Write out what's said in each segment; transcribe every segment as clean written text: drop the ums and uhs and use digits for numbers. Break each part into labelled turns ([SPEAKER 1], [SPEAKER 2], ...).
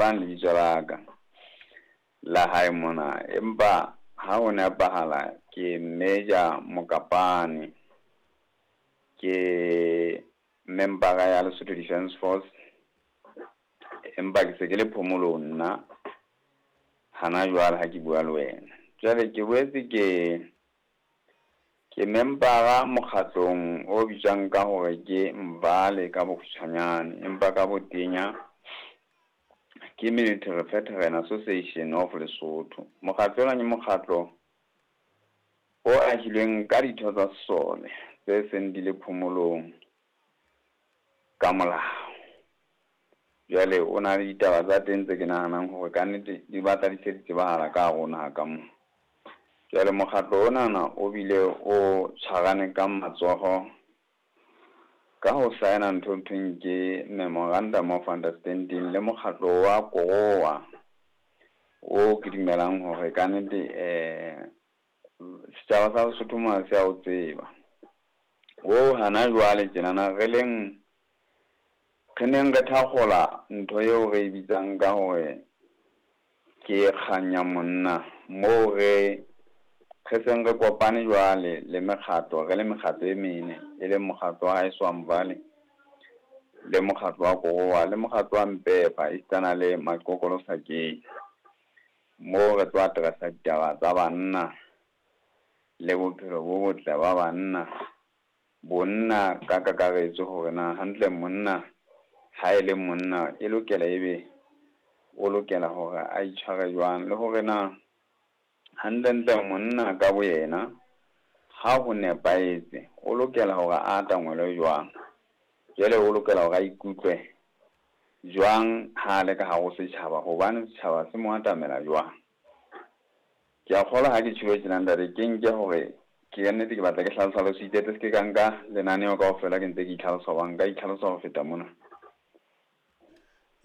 [SPEAKER 1] Mokapane lebitso la ka la hae mona, empa ha ho nepahala ke Major Mokapane. Ke member-a ya Lesotho Defence Force, empa ke se ke le phomolong nna hana jwale ha ke bua le wena. Jwale ke boetse ke member-a mokgatlong o bitswang ka hore ke Mbale ka bokgutshwanyane, empa ka botenya ke Military Veteran Association of Lesotho. Mokgatlo ona ke mokgatlo o ahilweng ka ditho tsa sesole tse seng di le phomolong ka molao. Jwale o na le ditaba tsa teng tse ke nahanang hore kannete di batla di se di tsebahala ka hare ho naha ka mona. Jwale mokgatlo onana o bile o tshwarane ka matsoho ka ho sign-a ntho e thweng ke memorandum of understanding le mokgatlo wa Korowa, o ke dumelang hore kannete setjhaba sa Lesotho mona se a o tseba. O hana jwale tjenana re leng re neng re thakgola ntho eo re e bitsang ka hore ke kgang ya monna, moo re seng re kopane jwale le mekgatlo, re le mekgatlo e mene, e leng mokgatlo wa haeso wa Mbale, le mokgatlo wa Korowa, le mokgatlo wa Mpepa, esitana le Maqokolo Sakeng. Moo re tlo address-a ditaba tsa banna le bophelo bo botle ba banna, bonna ka kakaretso hore na hantle monna ha e le monna e lokela ebe o lokela hore a itshware jwang, le hore na hantle-ntle monna ka boyena ha ho nepahetse o lokela hore a atangwelwe jwang, jwale o lokela hore a ikutlwe jwang ha le ka hare ho setjhaba, hobane setjhaba se mo atamela jwang. Ke a kgolwa ha ke tjholo tjena ntate, ke nke hore ke nnete ke batla ke hlalosa le se ke ka nka lenaneo kaofela ke ntse ke itlhalosa, hoba nka itlhalosa ho feta mona.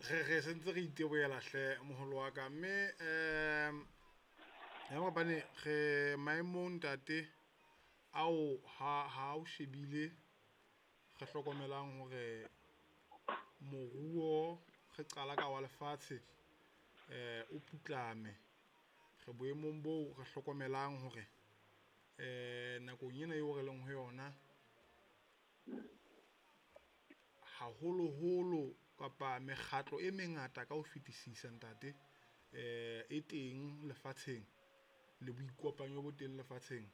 [SPEAKER 2] Re sentse re itebohela hle moholo wa ka, mme ya Mokapane re maemong ntate ao ha o shebile re hlokomelang hore moruo re qala ka wa lefatshe o putlame. Re boemong boo re hlokomelang hore nakong ena eo re leng ho yona haholoholo kapa mekgatlo e mengata ka ho fetisisa ntate e teng lefatsheng le boikopanyo bo teng lefatsheng.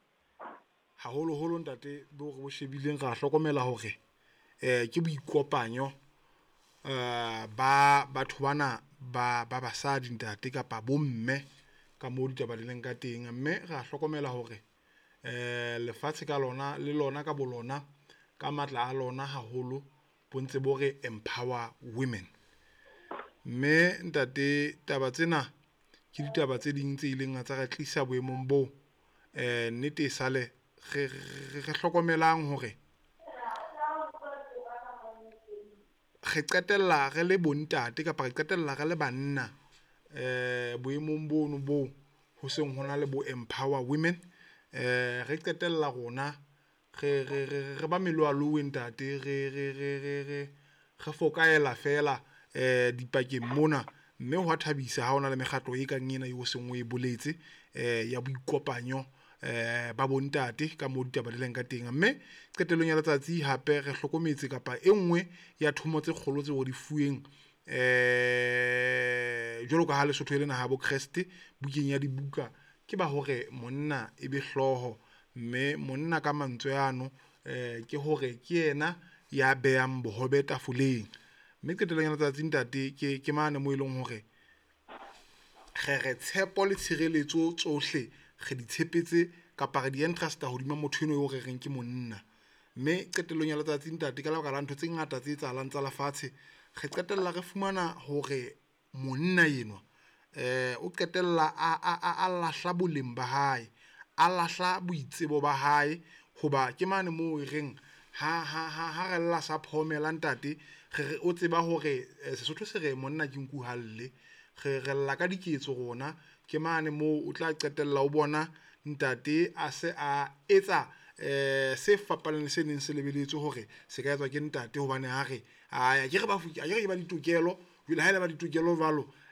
[SPEAKER 2] Haholoholo ntate bo re bo shebileng ra hlokomela hore ke boikopanyo ba batho bana ba basadi ntate kapa bomme ka mo ditaba di leng ka teng. Mme ra hlokomela hore lefatshe ka lona le lona ka bolona ka matla a lona haholo bo ntse bo re empower women. Mme ntate taba tsena ke ditaba tse ding tse ileng tsa re tlisa boemong boo nnete e sale re hlokomelang hore re qetella re le bontate kapa re qetella re le banna boemong bono boo ho seng hona le bo empower women. Re qetella rona re ba meloalowe ntate, re fokaela fela dipakeng mona. Mme ho a thabisa ha hona le mekgatlo e kang ena eo seng o e boletse ya boikopanyo ba bontate ka moo ditaba di leng ka teng. Mme qetellong ya letsatsi hape re hlokometse kapa e nngwe ya thomo tse kgolo tseo re di fuweng jwalo ka ha Lesotho e le naha ya bo Kreste bukeng ya dibuka, ke ba hore monna e be hlooho. Mme monna ka mantswe ano ke hore ke yena ya behang bohobe tafoleng. Mme qetellong ya letsatsi ntate ke mane moo e leng hore re tshepo le tshireletso tsohle re di tshepetse kapa re di entrust-a hodima motho eno eo re reng ke monna. Mme qetellong ya letsatsi ntate ka lebaka la ntho tse ngata tse etsahalang tsa lefatshe, re qetella re fumana hore monna enwa o qetella a lahla boleng ba hae, a lahla boitsebo ba hae. Hoba ke mane moo e reng ha re lla sa phomela ntate, re re o tseba hore Sesotho se re monna ke nku ha lle. Re lla ka diketso rona, ke mane moo o tla qetella o bona ntate a se a etsa se fapaneng le se neng se lebelletswe hore se ka etswa ke ntate. Hobane ha re akere ba akere ke ba ditokelo, jwale ha ele ba ditokelo jwalo.